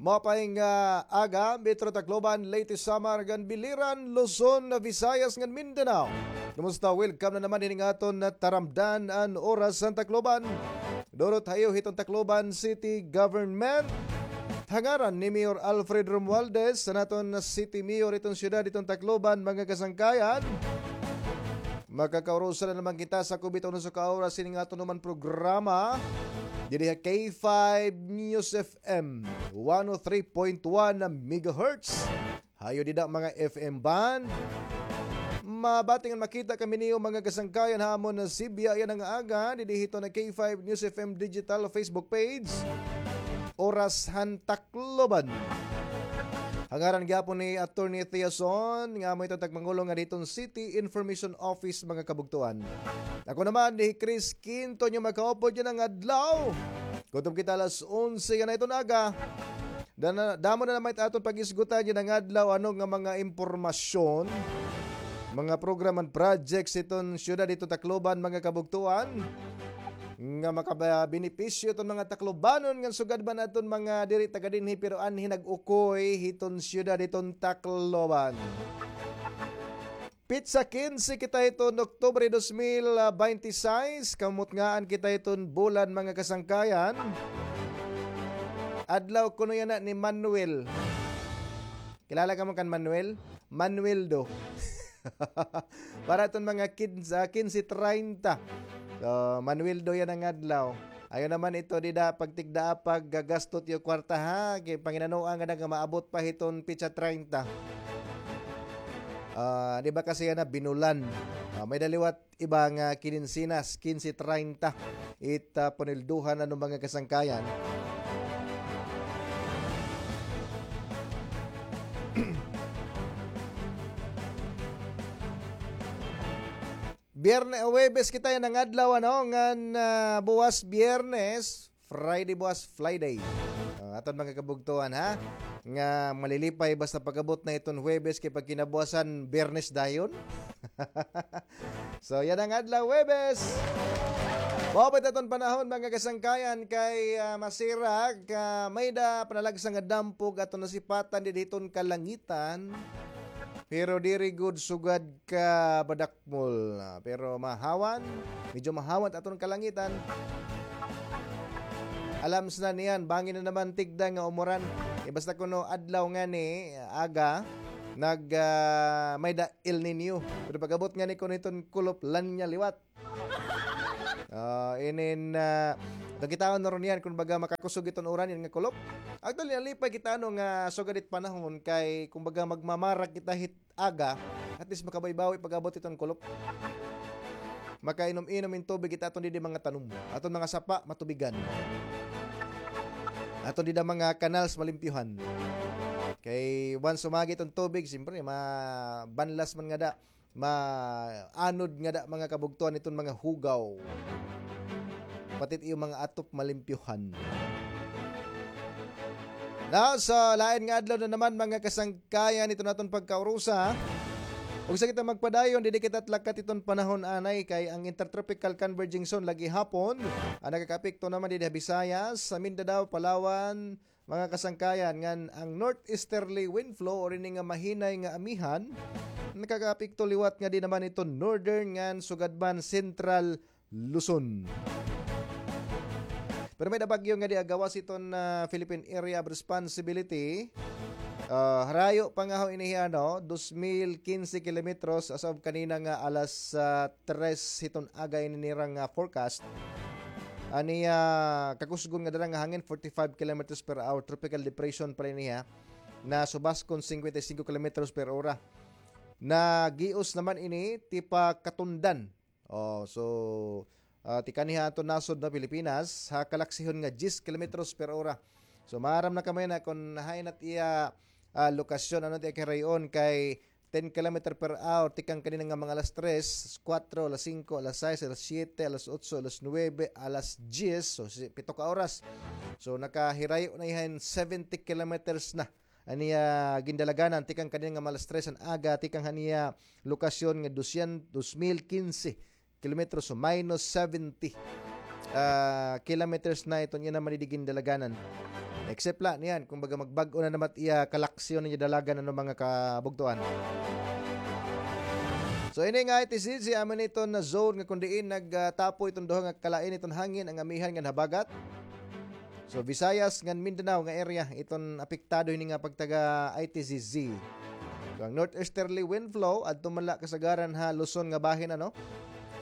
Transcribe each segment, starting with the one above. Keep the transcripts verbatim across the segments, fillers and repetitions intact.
Maupay nga aga, Metro Tacloban, Leyte, Samar, ngan Biliran, Luzon, Visayas, ngan Mindanao. Kumusta? Welcome na naman hini nga aton taramdan an oras han Tacloban. Durot ha iyo hiton Tacloban City Government. Ha ngaran ni Mayor Alfred Romualdez, an aton City Mayor hiton siyudad hiton Tacloban, mga kasangkayan. Makakaurusa na naman kita sa kubiton usa ka oras hini nga aton naman programa. Didi ha K five News F M, one oh three point one megahertz. Ha iyo dida mga F M band. Mabati ngan makita kami niyo mga kasangkayan ha amon nga sibya yana nga aga, didi hiton K five News F M digital Facebook page. Oras han Tacloban. Ha ngaran gihapon ni Attorney Theason, nga amo iton tagpangulo nga diton City Information Office, mga kabugtuan. Ako naman, ni Chris Quinto, niyo makaupod yana nga adlaw. Kutob kita alas onse yana hiton aga. Dana, damo na naman it aton pag-isgutan yana nga adlaw, ano nga mga impormasyon, mga program and projects hiton siyudad hiton Tacloban, mga kabugtuan, nga makabenepisyo hiton mga Taclobanon, ngan sugad man aton mga diri taga dinhi pero anhi nag-ukoy hiton siyudad hiton Tacloban. Pitsa kinse kita hiton Oktubre dos mil baynte sais, kamutngaan kita hiton bulan, mga kasangkayan. Adlaw kuno yana ni Manuel. Kilala kamo kan Manuel? Manuel do. Para iton mga kinse, kinse treinta. So, Manuel do yana nga adlaw. Ayaw naman ito dida pagtigdaa, paggagastot iyo kwarta, ha? Kay panginanoa ngada nga maabot pa hiton pitsa treinta. Ah, di ba kasi yana binulan? Ah, may-ada liwat iba nga kinse na, kinse treinta. It, ah, panulduhan, ano, mga kasangkayan. Biyernes, Huwebes kita yana nga adlaw, ano, ngan, ah, buwas Biyernes, Friday buwas, Friday. Ah, aton mga kabugtuan, ha? Nga malilipay basta pag-abot na iton Huwebes kay pagkinabuwasan Biyernes dayon. So, yana nga adlaw, Huwebes. Maupay it aton panahon, mga kasangkayan, kay, ah, masirak, ah, may-ada panalagsa nga dampog aton nasipatan didi hiton kalangitan. Pero diri gud sugad ka badakmol, ah, pero mahawan, medyo mahawan it aton kalangitan. Alam sa na niyan, bangin na naman tigda nga umuran. Eh, basta kuno adlaw ngani, aga, nag, ah, may-ada El Niño. Pero pag-abot ngani kuno hiton kulop, La Niña liwat. Ah, inin, ah, nakitaon na ron yan, kun baga makakusog iton uran, yan nga kulop. Actually, nalipay kita, ano, nga sugad it panahon kay, kun baga, magmamarak kita hit aga, at least makabawi-bawi pag-abot iton kulop. Makainom-inom in tubig it aton didi mga tanom. Aton mga sapa, matubigan. Aton dida mga canals, malimpyuhan. Kay once umagi iton tubig, siyempre, mabanlas man ngada, maanod ngada mga kabugtuan iton mga hugaw. Pati it iyo mga atop malimpyuhan. Now, sa lain nga adlaw na naman, mga kasangkayan, iton aton pagkaurusa. Ugsa kita magpadayon, didi kita lakat iton panahon anay kay ang Intertropical Converging Zone lagi hapon. Ang nakakaapekto naman didi ha Visayas, sa Mindanao, Palawan, mga kasangkayan, ngan ang northeasterly wind flow or ini nga mahinay nga amihan, nakakaapekto liwat ngadi naman iton northern ngan sugad man central Luzon. Pero may-ada bagyo ngadi ha gawas iton, ah, Philippine Area of Responsibility. Ah, harayo pa nga ho ini, ano, dos mil kinse kilometros as of kanina nga alas, ah, tres hiton aga ini nira nga forecast. Ani, ah, kakusgon nga dara nga hangin, forty-five kilometers per hour, tropical depression pa ini, ha. Nasubaskon, cincuenta y cinco kilometros per hora. Nagios naman ini tipa Katundan. Oh, so, ah, tikaniha aton nasod na Pilipinas, ha kalaksihon nga diyes kilometros per hora. So, maaram na kamo yana kun hain it iya, ah, lokasyon, ano it iya kahirayon kay ten kilometer per hour, tikang kanina nga mga alas tres, kuwatro, alas singko, alas sais, alas siyete, alas otso, alas nuwebe, alas diyes, so, si-, pito ka oras. So, nakahirayo na iyan seventy kilometers na. An iya gindalaganan, tikang kanina nga mga alas tres an aga, tikang han iya lokasyon nga dosyen-, dos mil kinse kilometros, so minus seventy, ah, kilometers na iton iya naman didi gindalaganan. Except la niyan, kumbaga magbag-o na naman iya kalaksyon niya dalagan, ano, mga kabugtuan. So, ini nga I T C Z, amo ni iton nga zone nga kun diin nagtapo iton duha nga kalain iton hangin, an amihan ngan habagat. So, Visayas ngan Mindanao nga area iton apektado hini nga pagtaga I T C Z. So, ang northeasterly wind flow, adto man la kasagaran ha Luzon nga bahin, ano?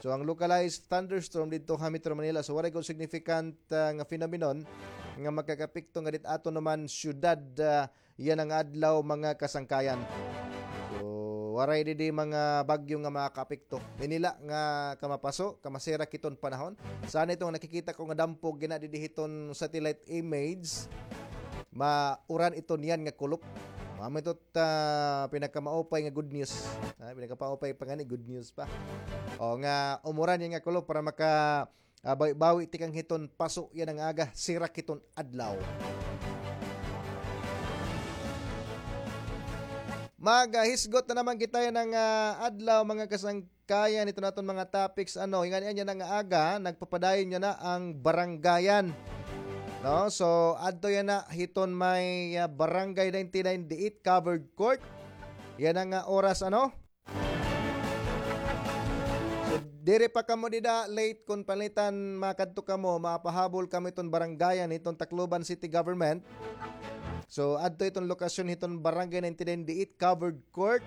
So, ang localized thunderstorm didto ha Metro Manila. So, waray gud significant, ah, nga phenomenon nga makakaapekto nga dit aton naman syudad, ah, yana nga adlaw, mga kasangkayan. So, waray didi mga bagyo nga makakaapekto. Ini la nga kamapaso, kamasirak hiton panahon. Sana ito nga nakikita ko nga dampog yana didi hiton satellite image, mauran iton yana nga kulop. Mao ito, ah, pinakamaupay nga good news. Ah, pinakamaupay pa ngani, good news pa. O nga, umuran yana nga kulop para maka, ah, bawi-bawi tikang hiton paso yana nga aga, sirak hiton adlaw. Maghisgot na naman kita yana nga, ah, adlaw, mga kasangkayan, hiton aton mga topics, ano, ingani yana nga aga, nagpapadayon yana an barangayan. No? So, adto yana hiton may, ah, Barangay ninety-nine diit, covered court. Yana nga oras, ano? So, diri pa kamo dida late kun pananglitan makadto kamo, mapahabol kamo hiton barangayan hiton Tacloban City Government. So, adto hiton lokasyon hiton Barangay ninety-nine diit, covered court.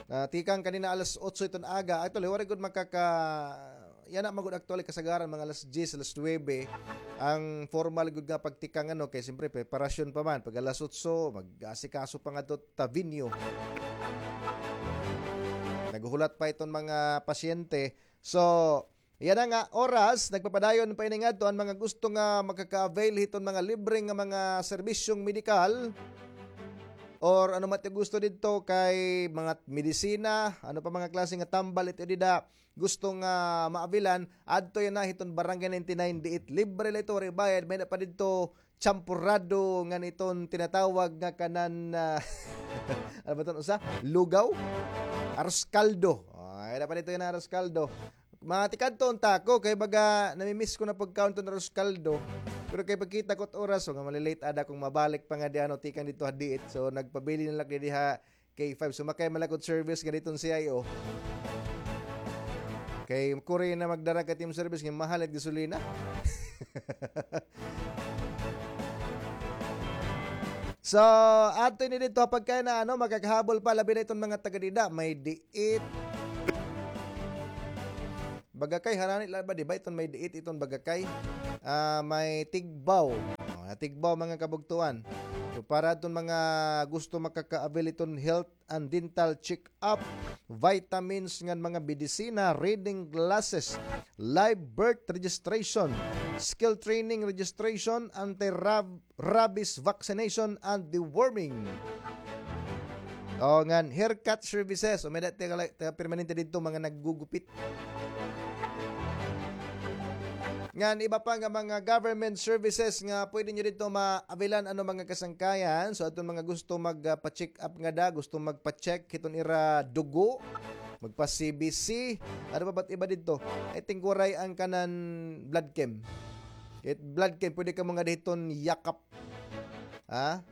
Ah, tikang kanina alas otso hiton aga. Actually, waray gud makaka-, yana man gud actually kasagaran mga alas diyes, alas nuwebe. Ang formal gud nga pagtikang, ano, kay siyempre preparasyon pa man. Pag alas otso, mag-asikaso pa ngadto ta venue. Naghuhulat pa iton mga pasyente. So, yana nga oras, nagpapadayon pa ini ngadto an mga gusto nga makaka-avail hiton mga libre nga mga serbisyong medikal or ano man it gusto didto kay mga medisina, ano pa mga klase nga tambal ito dida gusto nga maabilan, adto yana hiton Barangay ninety-nine diit. Libre la ito, waray bayad, may-ada pa didto champorado ngan iton tinatawag nga kanan, ah, ano ba iton usa? Lugaw? Arroz caldo. Ay, dapat ito yana arroz caldo. Mga tikadto unta ako, kay baga namimiss ko na pagkaon iton arroz caldo. Pero kay pagkita ko it oras, so nga malilate ada kung mabalik pa nga di ano, tikang didto ha diit. So nagpabili na lang didi ha K five. Sumakay man la ko it service ngan iton C I O. Kay kuri na magdara ka team service nga mahal it gasolina. So, adto ini didto ha pagkain na, ano, makakahabol pa, labi na iton mga taga dida. May diit. Bagakay, harani la ba, di ba? Iton may diit, iton Bagakay. Ah, may Tigbao. Oh, Tigbao, mga kabugtuan. So, para iton mga gusto makaka-avail iton health and dental check-up, vitamins ngan mga medisina, reading glasses, live birth registration, skill training registration, anti-rab-, rabies vaccination, and deworming. O, ngan haircut services. O, may-ada taga, taga permanente didto, mga naggugupit. Ngan iba pa nga mga government services nga pwede nyo didto maabilan, ano, mga kasangkayan. So, adton mga gusto magpa-check up ngada, gusto magpa-check hiton ira dugo, magpa-C B C. Ano pa ba it iba didto? I think waray an kanan blood chem. It blood chem, pwede kamo ngada hiton Yakap. Ha?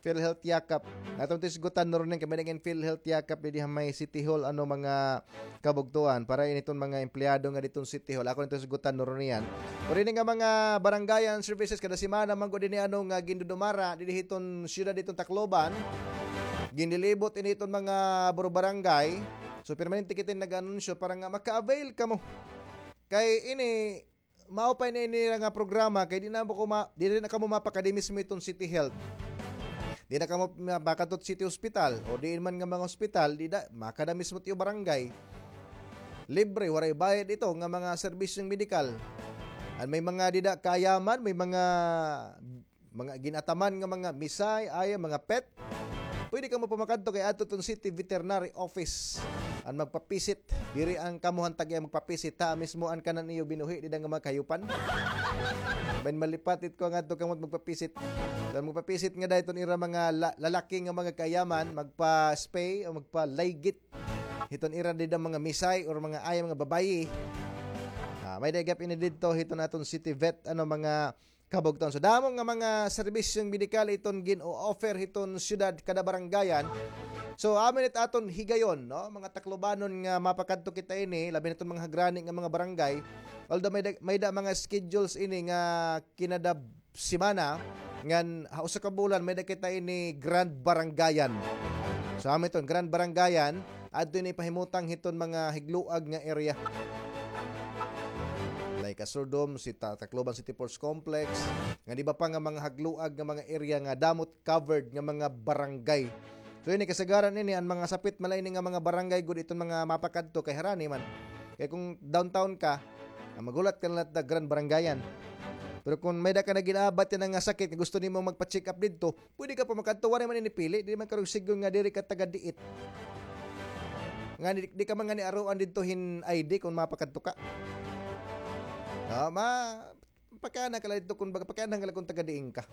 PhilHealth Yakap. Aton ito hisgutan nuron niyan kay may-ada ngay-an PhilHealth Yakap didi ha may City Hall, ano, mga kabugtuan, para ini iton mga empleyado nga didton City Hall. Ako na ito hisgutan nuron niyan. Pero ini nga mga barangayan services, kada semana man gud ini, ano, nga gindudumara didi hiton syudad, hiton Tacloban. Ginlilibot ini iton mga buro-barangay. So, permanente kita nag-anunsyo para nga maka-avail kamo. Kay ini, mao pa ini nira nga programa, kay di na kamo ma-, di na kamo mapakadi mismo hiton City Health. Di na kamo ma-, makadto hit City Hospital, o diin man nga mga hospital, dida, makada mismo hit iyo barangay. Libre, waray bayad ito nga mga serbisyong medikal. An may mga dida kaayaman, may mga mga gin-ataman nga mga misay, aya, mga pet, pwede kamo pa makadto kay adto iton City Veterinary Office an magpapisit. Diri an kamo han tag-iya magpapisit, ha, mismo an kanan iyo binuhi dida nga mga kahayupan. Bahin malipat it ko ngadto kamo magpapisit. So, magpapisit ngada iton ira mga la-, lalaki nga mga kaayaman, magpa-spay o magpa-ligate hiton ira dida mga misay or mga aya, mga babayi. Ah, may-ada gihap ini didto hiton aton City Vet, ano, mga kabugtoan. So, damo nga mga serbisyong medikal iton gin-o-offer hiton syudad kada barangayan. So, amo ini it aton higayon, no? Mga Taclobanon nga mapakadto kita ini, labi na iton mga hagrani nga mga barangay. Although may da, may da mga schedules ini nga kinada semana, ngan ha usa ka bulan, may da kita ini Grand Barangayan. So, amo iton Grand Barangayan, adto ini pahimutang hiton mga higluag nga area. Like Asurdom, si Ta-, Tacloban City Ports Complex, ngan iba pa nga mga hagluag nga mga area nga damo it covered nga mga barangay. So, ini kasagaran ini, an mga sapit man la ini nga mga barangay gud iton mga mapakadto kay harani man. Kay kon downtown ka, ah, maghulat ka na la hit Grand Barangayan. Pero kon may da ka na gin-aabat yana nga sakit nga gusto nimo magpa-check up didto, pwede ka pa makadto, waray man ini pili, di man karuyag sidngon nga diri ka taga-diit. Nga di, di ka man ngani aruan didto hin I D kon mapakadto ka. Ah, ma, pakiana ka la didto kon baga, pakiana ka la kon taga-diin ka.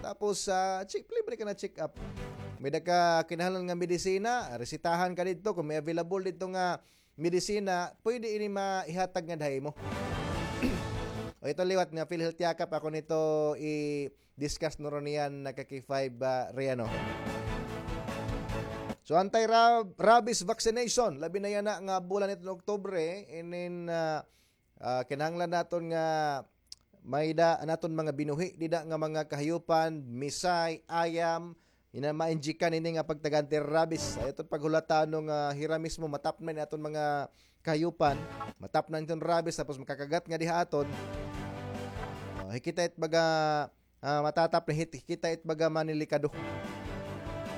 Tapos, ah, check, libre ka na check up. May da ka kinahanglan nga medisina, resitahan ka didto kon may available didto nga medisina, pwede ini maihatag ngada ha imo. O, ito liwat nga PhilHealth Yakap, ako nito i-discuss nuron niyan na ka K five, ah, Riano. So, anti-rab-, rabies vaccination, labi na yana nga bulan iton Oktubre, inin, ah, ah, kinahanglan naton nga may da an aton mga binuhi dida nga mga kahayupan, misay, ayam, ina ma-injikan ini nga pagtaga anti-rabies. Ayaw ton paghulata nga hira mismo matapnan ini aton mga kahayupan, matapnan iton rabies, tapos makakagat ngadi ha aton. Ah, hikita it baga, ah, matatapnan, hit-, hikita it baga manilikado.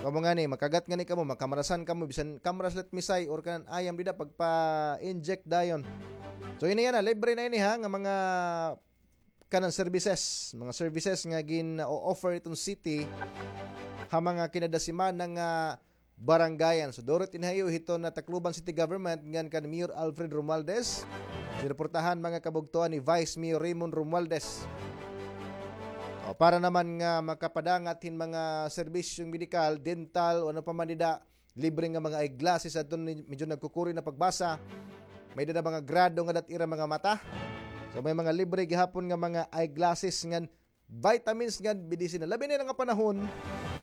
Kamo ngani, makagat ngani kamo, makamarasan kamo, bisan kamras la it misay or kanan ayam dida, pagpa-inject dayon. So, ini yana, libre na ini ha, nga mga kanan services, mga services nga gin-o-offer iton city ha mga kinada semana nga barangayan. So, duro it ini ha iyo hiton Tacloban City Government ngan kan Mayor Alfred Romualdez. Sinuportahan mga kabugtoan ni Vice Mayor Raymond Romualdez. O, para naman nga makapadangat hin mga serbisyong medikal, dental, o ano pa man dida, libre nga mga eyeglasses adton ni-, medyo nagkukuri na pagbasa. May dida mga grado nga dat ira mga mata. So, may mga libre gihapon nga mga eyeglasses ngan vitamins ngan medisina. Labi na nga panahon,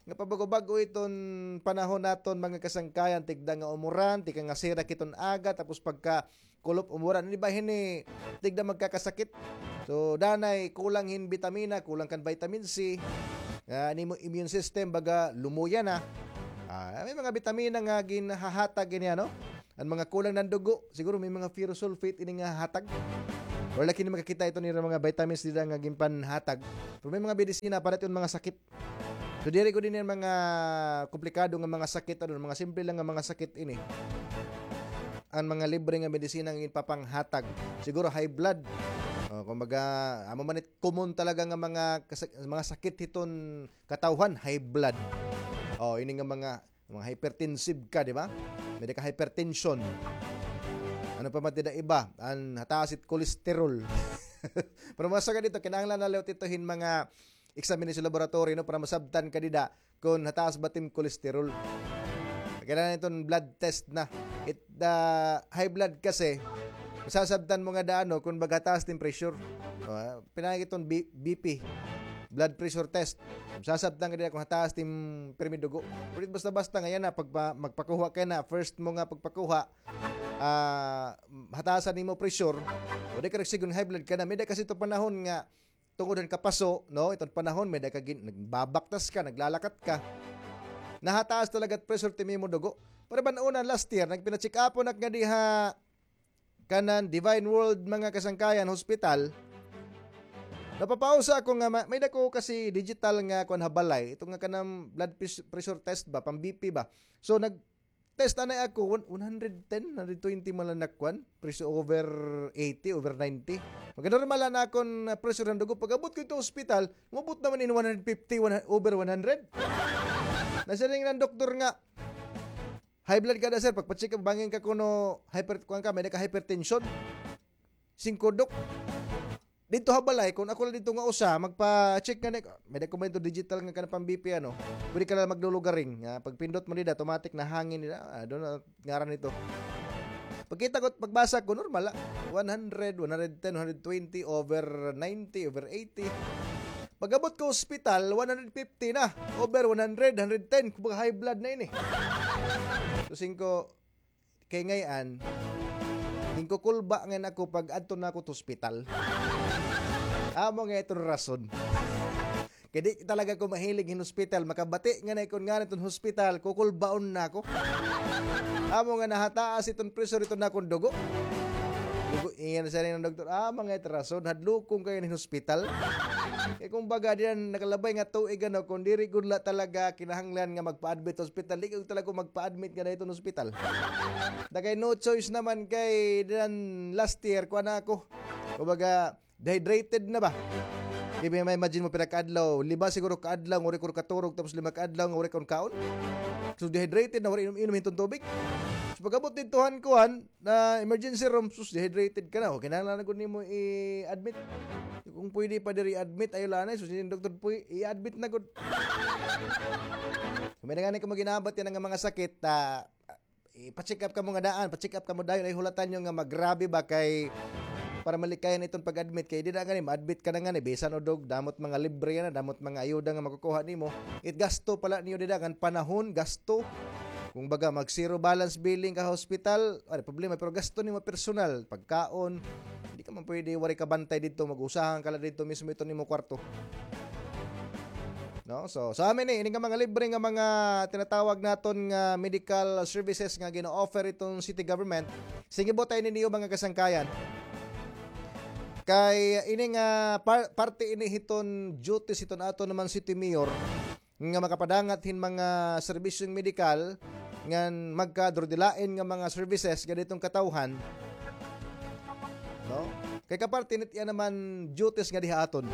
nga pabago-bago iton panahon naton, mga kasangkayan, tigda nga umuran, tigda nga sirak iton aga, tapos pagka kulop umuran, ini ba hini, tigda magkakasakit. So, danay kulang hin bitamina, kulang kan vitamin C. Ah, an imo immune system, baga, lumuya na. Ah, may mga bitamina nga ginhahatag ini, ano? An mga kulang nan dugo, siguro may mga ferrous sulfate ini nga hatag. Or laki ni makakita ito nira mga vitamins dida nga ginpanhatag. Pero may mga medisina para iton mga sakit. So, diri gud ini an mga komplikado nga mga sakit, ano, mga simple lang nga mga sakit ini. An mga libre nga medisina nga ginpapanghatag. Siguro high blood. O, kumbaga, amo man it common talaga nga mga kasa-, mga sakit hiton katawhan, high blood. O, ini nga mga, mga hypertensive ka, di ba? May da ka hypertension. Ano pa man dida iba? An hataas it cholesterol. Pero masagad ito, kinahanglan na liwat ito hin mga examination laboratory, no, para masabtan ka dida kon hataas ba it im cholesterol. Kailangan iton blood test na. It, the high blood kasi, masasabtan mo ngada, ano, kon baga hataas it im pressure. Ah, pinagi iton B-, B P, blood pressure test. Masasabtan ka dida kon hataas it im pirmi dugo. Pero basta-basta nga yana, pagpa-, magpakuha ka na, first mo nga pagpakuha, ah, hatasan nimo pressure, o di ka nagsigon high blood ka na. May da kasi ito panahon nga tungod han kapaso, no? Iton panahon, may da ka gin-, nagbabaktas ka, naglalakat ka. Nahataas talaga it pressure it imo dugo. Pero ban-una last year, nagpina-check up ako ngadi ha kanan Divine World, mga kasangkayan, hospital. Napapausa ako nga ma-, may da ko kasi digital nga kuan ha balay. Ito nga kanang blood pres-, pressure test ba, pang B P ba. So, nag-, test anay ako, one, one hundred ten, one hundred twenty man lang nakuan, pressure over eighty, over ninety. Magnormal na akon, ah, pressure han dugo. Pag-abot ko ito ospital, umabot naman in one hundred fifty, one, over one hundred. Nasiring an doktor nga, "High blood ka na, sir. Pagpa-check up, bangin ka kuno hyper-, kuan ka, may da ka hypertension." Singko, Dok. Didto ha balay, kon ako la didto nga usa, magpa-check ngani, may da ko man ito digital nga kanang pang-B P, ano. Pwede ka na maglulugaring. Nga, pagpindot mo dida, automatic na hangin dida. Ah, doon na ngaran nito. Pagkita ko, pagbasa ko, normal, ah. One hundred, one hundred ten, one hundred twenty, over ninety, over eighty. Pag-abot ko ospital, one hundred fifty na. Over one hundred, hundred ten. Kumbaga high blood na ini. So, singko, kay ngay-an, ginkukulba ngay-an ako pag adto na ako to ospital. Amo nga iton rason. Kay di talaga ko mahilig hin hospital. Makabati nga na ikon nga na iton hospital, kukulbaon na ako. Amo nga nahataas iton pressure iton akon dugo. Dugo, iyan siya rin ng doktor. Ah, mga itrason, hadlukon kayo hin hospital. Kay kumbaga, diyan nakalabay nga tuig, ano, kung diri gud la talaga kinahanglan nga magpa-admit sa hospital, di ko talaga magpa-admit nga na iton hospital. Dagay no choice naman kay diyan last year, kuha na ako. Kumbaga, dehydrated na ba? Di ba, ma-imagine mo, pira ka adlaw, lima siguro ka adlaw, nga wari ko katurog, tapos lima ka adlaw, nga wari ko kaon. So, dehydrated na, wari inom-inom hiton tubig. So, pag-abot didto han kuan, na emergency room, sus, dehydrated ka na. O, kinahanglan na gud nimo i-admit. Kung pwede pa diri i-admit, ayo la anay. So, si doktor po, i-admit na gud. Kung may na gani ka maginabat yan nga mga sakit, ah, ipa-check up kamo nga daan, pa-check up kamo dayon, ay hulatan nyo nga magrabe ba kay para malikayan iton pag-admit kay dida gani ma-admit ka na gani bisan udog, damot mga libre na, damot mga ayuda nga makukuha nimo. It gasto pala niyo dida kan panahon, gasto. Kung baga mag zero balance billing ka ha hospital, wala problema, pero gasto nimo personal, pagkaon, di ka man pwede wari ka bantay didto, mag-usahan ka la didto mismo iton nimo kwarto. No? So, sa amin ni, ini nga mga libre nga mga tinatawag naton nga medical services nga gina-offer iton city government, singibot ini niyo mga kasangkayan. Kay ini nga par-, parte ini hiton duties hiton aton naman city mayor nga makapadangat hin mga serbisyong medikal ngan magkadurdilain nga mga services nga diton katawhan. No? Kay kaparte nit iya naman duties nga diha aton.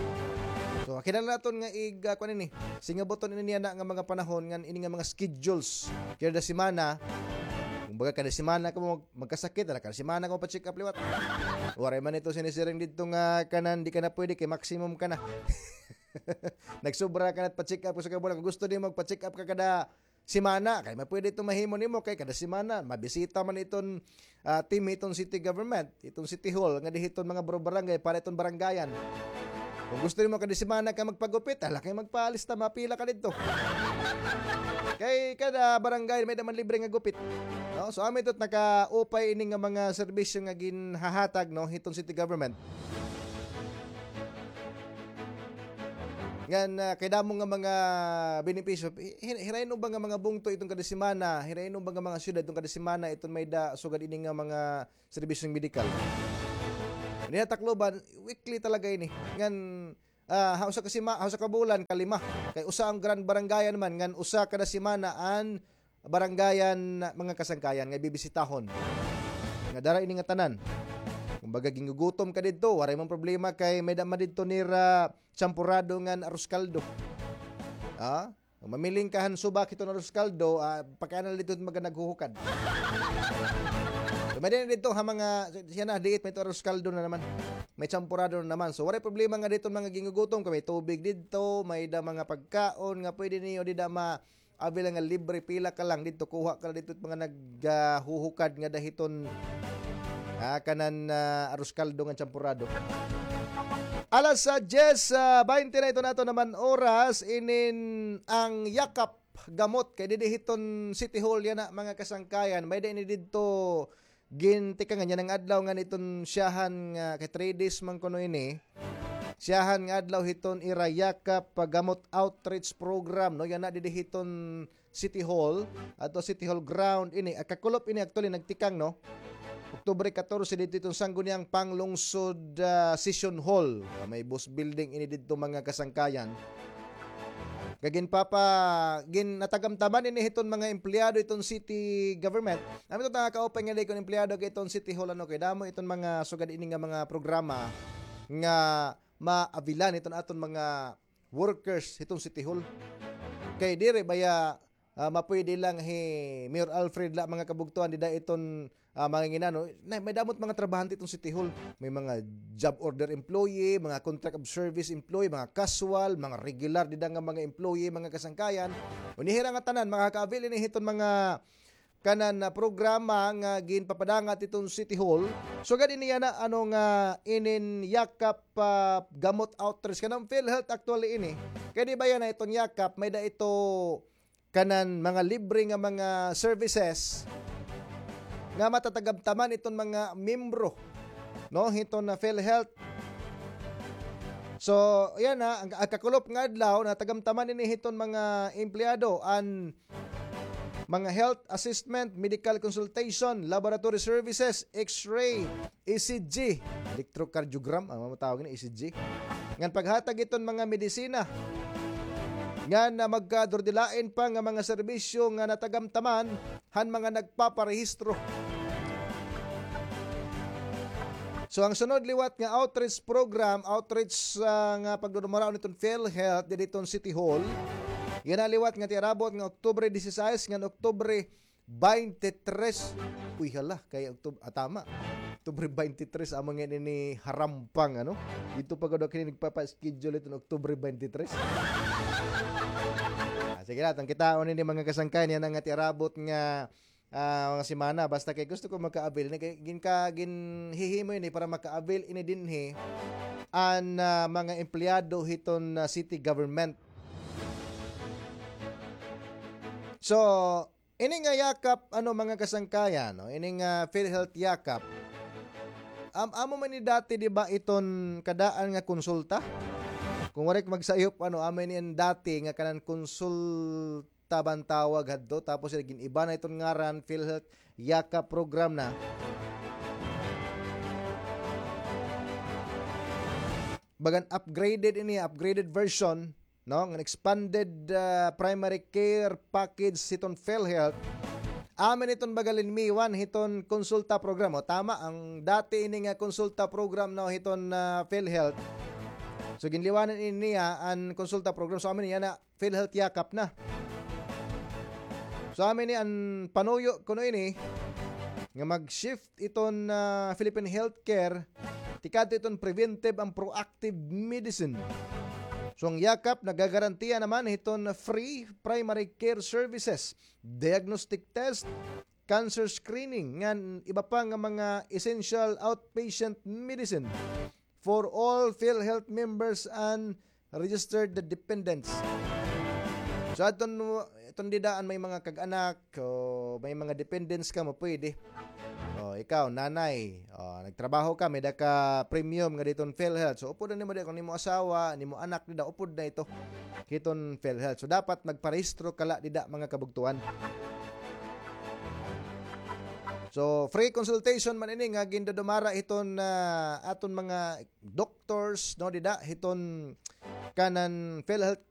So, kinahanglan naton nga ig-, ah, kuan ini. Singabuton ini niya na nga mga panahon ngan ini nga mga schedules. Kada semana, kumbaga kada semana kamo mag-, magkasakit, ala kada semana kamo pa-check up liwat. Waray man ito sinisiring didto nga kanan, di ka na pwede kay maximum ka na. Nagsobra ka na pa-check up sa kabulan. Kung gusto nimo magpa-check up ka kada semana, kay mapwede iton mahimo nimo kay kada semana mabisita man iton, ah, team iton city government, iton city hall nga dihiton mga baro-, barangay para iton barangayan. Kung gusto nimo kada semana ka magpagupit, ala kay magpalista, mapila ka didto. Kay kada barangay may-ada man libre nga gupit. No? So, amin ito nakaupay ini nga mga serbisyo nga ginhahatag, no, hiton city government. Ngan, ah, kay damo nga mga benepisyo. Hi-, hi-, hirayon ba nga mga bungto iton kada semana, hirayon ba nga mga syudad iton kada semana, iton may-ada sugad ini nga mga serbisyong medikal. Ini ha Tacloban, weekly talaga ini. Ngan, ah, ha usa ka sima-, ha usa ka bulan, kalima. Kay usa an grand barangayan man, ngan usa kada semana an barangayan, mga kasangkayan, nga bibisitahon. Nga dara ini nga tanan. Kumbaga, gingugutom ka didto, waray man problema kay may-ada man didto nira champurado ngan arroz caldo. Ah? Mamiling ka han subak hiton arroz caldo, ah, pakaanal didto mga naghuhukad. So, may-ada didto ha mga, siya na, diit, may-ada arroz caldo na naman. May champurado na naman. So, waray problema nga didto mga gingugutom, kay may tubig didto, may-ada mga pagkaon nga pwede niyo dida ma-, avail nga libre, pila ka lang didto, kuha ka lang didto mga naghuhukad nga dahiton, ah, kanan, ah, arroz caldo nga champurado. Alas, ah, diyes, ah, baynte na iton aton naman oras, inin an Yakap Gamot kay didi hiton City Hall yana, mga kasangkayan. May-ada ini didto gintikangan yana nga adlaw ngan iton siyahan nga kay three days man kuno ini. Siyahan nga adlaw hiton ira Yakap Gamot Outreach Program, no? Yana didi hiton City Hall, ato City Hall ground ini. Ah, kakulop ini actually nagtikang, no? Oktubre katorse didto iton Sangguniang Panglungsod, ah, Session Hall. Ah, may boss building ini didto, mga kasangkayan. Kay ginpapa-, ginatagamtaman ini hiton mga empleyado iton city government. Amin ito nga kaupay nga di kon empleyado kay iton City Hall, ano, kay damo iton mga sugad ini nga mga programa nga maabilan iton aton mga workers hiton City Hall. Kay diri baya, ah, mapwede lang hi Mayor Alfred la, mga kabugtuan, dida iton, ah, mga ginano. Na, may damot mga trabahante iton City Hall. May mga job order employee, mga contract of service employee, mga casual, mga regular dida nga mga employee, mga kasangkayan. Unya hira nga tanan makaka-avail ini hiton mga kanan na programa nga ginpapadangat hiton City Hall. Sugad ini yana, ano, nga inin Yakap, ah, Gamot Outreach, kanan PhilHealth actually ini. Kay di ba yana iton Yakap, may-ada ito kanan mga libre nga mga services nga matatagamtaman iton mga miyembro, no, hiton na PhilHealth. So, yana, ang, ang kakulop nga adlaw, natagamtaman ini hiton mga empleyado, an mga health assessment, medical consultation, laboratory services, X-ray, E C G, electrocardiogram, ano man tawag ini, E C G. Ngan paghatag hiton mga medisina. Ngan, ah, magkadurdilain pa nga mga serbisyo nga natagamtaman han mga nagpaparehistro. So, ang sunod liwat nga outreach program, outreach, ah, nga pagdudumaraon hiton PhilHealth didi hiton City Hall, yana liwat nga tiarabot nga Oktubre disisais ngan Oktubre baynte tres. Uy, hala, kay Oktob-, ah, tama. Oktubre baynte tres, amo ngay-an ini harampang, ano? Didto pa gud ako ini nagpapa-schedule hiton Oktubre baynte tres. Ah, sige la, aton kitaon ini, mga kasangkayan, yana nga tiarabot nga, ah, mga semana. Basta kay gusto ko maka-avail ini, kay ginka-, ginhihimo ini para maka-avail ini dinhi an, ah, mga empleyado hiton, ah, city government. So, ini nga Yakap, ano, mga kasangkayan, no? Ini nga PhilHealth Yakap. Am-, amo man ni dati, di ba, iton kadaan nga konsulta? Kung waray ka magsayop, ano, amo ini an dati nga kanan konsulta ba an tawag hadto, tapos gin-iba na iton ngaran, PhilHealth Yakap program na. Bagan upgraded ini, upgraded version, no, nga expanded, ah, primary care package hiton PhilHealth. Amo ini iton baga linmiwan hiton konsulta program. O, tama, an dati ini nga konsulta program, no, hiton, ah, PhilHealth. So, ginliwanan ini niya an konsulta program. So, amo ini yana, PhilHealth Yakap na. So, amo ini an panuyo kuno ini nga mag-shift iton, ah, Philippine healthcare tikadto iton preventive and proactive medicine. So, an Yakap nagagarantiya naman hiton free primary care services, diagnostic test, cancer screening, ngan iba pa nga mga essential outpatient medicine for all PhilHealth members and registered dependents. So, aton, aton dida an may mga kag-anak, o may mga dependents ka, mapwede. O, ikaw, nanay, o, nagtrabaho ka, may-ada ka premium nga dida hiton PhilHealth. So, upod na nimo dida, kon imo asawa, nimo anak dida, upod na ito hiton PhilHealth. So, dapat magparehistro ka la dida, mga kabugtuan. So, free consultation man ini nga gindudumara hiton, ah, aton mga doctors, no, dida hiton kanan PhilHealth